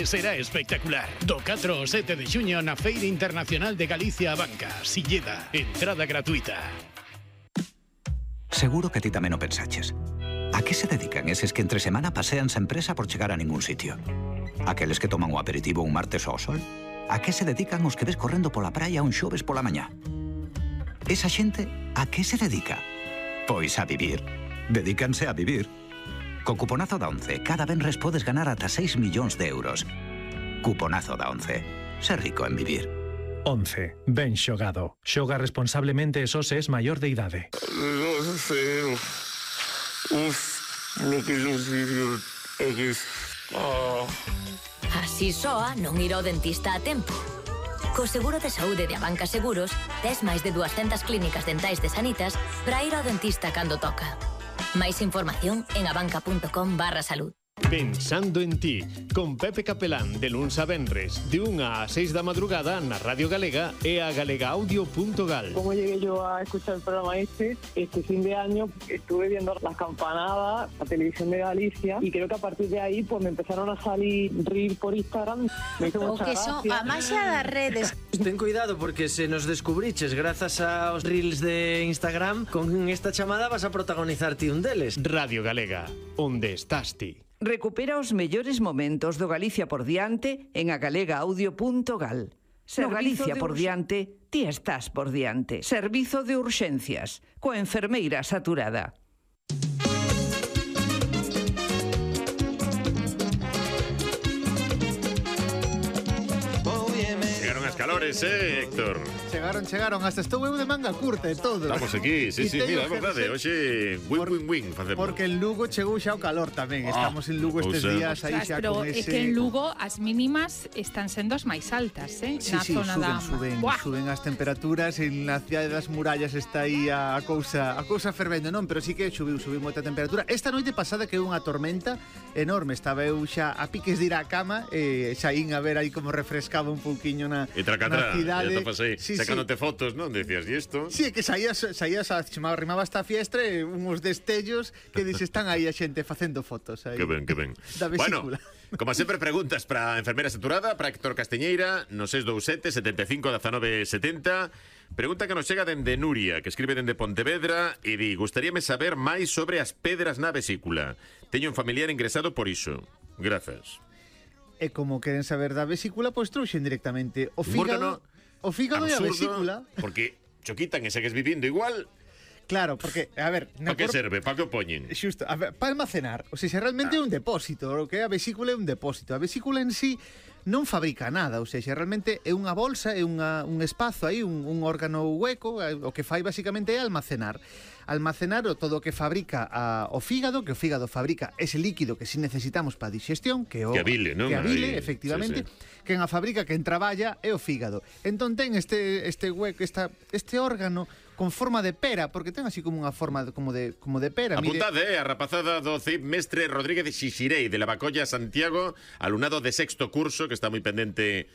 Será espectacular. Do 4 ao 7 de xuño na Feira Internacional de Galicia a Banca, Silleda. Entrada gratuita. Seguro que ti tamén o pensaches. A que se dedican eses que entre semana pasean sen presa por chegar a ningún sitio? Aqueles que toman o aperitivo un martes ao sol? A que se dedican os que ves correndo pola praia un xoves pola mañá? Esa xente, a que se dedica? Pois a vivir. Dedícanse a vivir. Co cuponazo da ONCE, cada venres podes ganar ata 6 millóns de euros. Cuponazo da ONCE. Ser rico en vivir. 11. Ben xogado. Xoga responsablemente e só se es maior de idade. Así soa non ir ao dentista a tempo. Co seguro de saúde de Abanca Seguros, tes máis de 200 clínicas dentais de Sanitas para ir ao dentista cando toca. Máis información en abanca.com/salud. Pensando en ti, con Pepe Capelán de luns a venres, de 1 a 6 da madrugada na Radio Galega e a galegaaudio.gal. Como llegué yo a escuchar el programa este fin de año estuve viendo las campanadas, la televisión de Galicia, y creo que a partir de ahí pues me empezaron a salir reels por Instagram. Me hizo mucha gracia. A maxia das redes. Ten cuidado porque se nos descubriches grazas aos reels de Instagram, con esta chamada vas a protagonizar ti un deles. Radio Galega, onde estás ti? Recupera os mellores momentos do Galicia por diante en agalegaaudio.gal. Ser Galicia por diante, ti estás por diante. Servizo de urxencias, coa enfermeira saturada. Calores, Héctor? Chegaron, hasta estou eu de manga curta e todo. Estamos aquí, sí, mira, é verdade. Hoxe, win facemos. Porque en Lugo chegou xa o calor tamén. Estamos en Lugo estes días aí xa con ese... Pero é que en Lugo as mínimas están sendo as máis altas, na zona da... Suben as temperaturas, en la cidade das murallas está aí a cousa fervendo, non? Pero sí que subiu moita temperatura. Esta noite pasada que é unha tormenta enorme, estaba eu xa a piques de ir á cama e xa ín a ver aí como refrescaba un pouquiño na cidade. Sacándote fotos, non? Decías, e isto? Sí, que saías arrimaba esta fiestra e uns destellos que están aí a xente facendo fotos aí. Que ben. Da vesícula. Bueno, como sempre preguntas para a enfermera saturada, para Héctor Casteñeira, no 627 75 19 70. Pregunta que nos chega dende Nuria, que escribe dende Pontevedra e di: gustaríame saber máis sobre as pedras na vesícula. Teño un familiar ingresado por iso. Grazas. E como queren saber da vesícula, pois trouxen directamente o fígado e a vesícula. Porque cho quitan e segues vivindo igual. Claro, porque, a ver... Para que serve? Para que o poñen? Xusto, para almacenar. O sea, realmente é un depósito. O que é a vesícula é un depósito. A vesícula en sí non fabrica nada. O sea, realmente é unha bolsa, é un espazo aí, un órgano hueco. O que fai basicamente é almacenar todo o que fabrica o fígado, que o fígado fabrica ese líquido que si necesitamos para a digestión, que a bile, non? Que a bile, efectivamente. Sí. Quen a fabrica, quen traballa é o fígado. Entón ten este hueco, este órgano con forma de pera, porque ten así como unha forma como de pera. Apuntade, a rapazada do CIP Mestre Rodríguez de Xixirei, de la Bacolla, Santiago, alumnado de sexto curso, que está moi pendente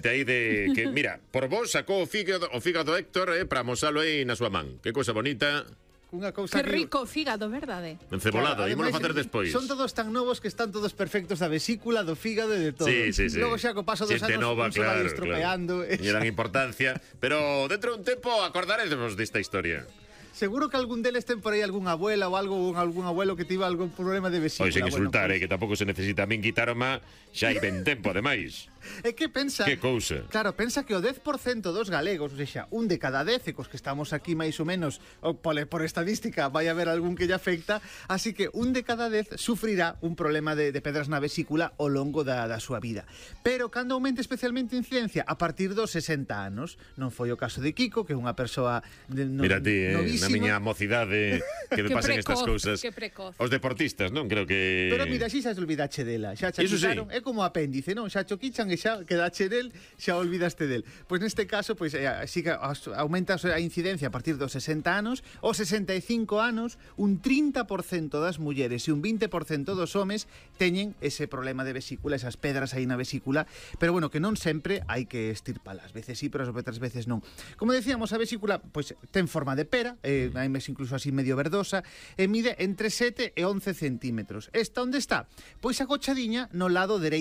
aí de que, mira, por vos sacou o fígado Héctor para amosalo aí na súa man. Que cousa bonita. Que rico fígado, verdade? Encebolado, e vamos facer despois. Son todos tan novos que están todos perfectos da vesícula, do fígado e de todo. Sí. Logo xa co paso dos anos se vai estropeando. E dan importancia. Pero dentro dun tempo acordaremos desta historia. Seguro que algún deles ten por aí algunha abuela ou algún abuelo que tivo algún problema de vesícula. Pois sen insultar, que tampouco se necesita. A min quitaroma xa hai ben tempo, ademais. É que pensa... Que cousa. Claro, pensa que o 10% dos galegos, ou seja, un de cada 10, cos que estamos aquí máis ou menos, por estadística, vai haber algún que lle afecta, así que un de cada 10 sufrirá un problema de pedras na vesícula ao longo da súa vida. Pero cando aumente especialmente a incidencia a partir dos 60 anos, non foi o caso de Kiko, que é unha persoa mira ti, na miña mocidade que me pasen estas cousas. Que precoz. Os deportistas, non? Creo que... Pero mira, xa se olvidache dela, xa xa quitaron, é como apéndice, non? Xa choquichan e xa quedache del, xa olvidaste del. Pois neste caso, pois así que aumenta a incidencia a partir dos 60 anos, os 65 anos, un 30% das mulleres e un 20% dos homes teñen ese problema de vesícula, esas pedras aí na vesícula, pero bueno, que non sempre hai que estirpalas. Veces sí, pero outras veces non. Como decíamos, a vesícula pois ten forma de pera, hai mes incluso así medio verdosa, e mide entre 7 e 11 centímetros. Esta onde está? Pois agochadiña no lado dereito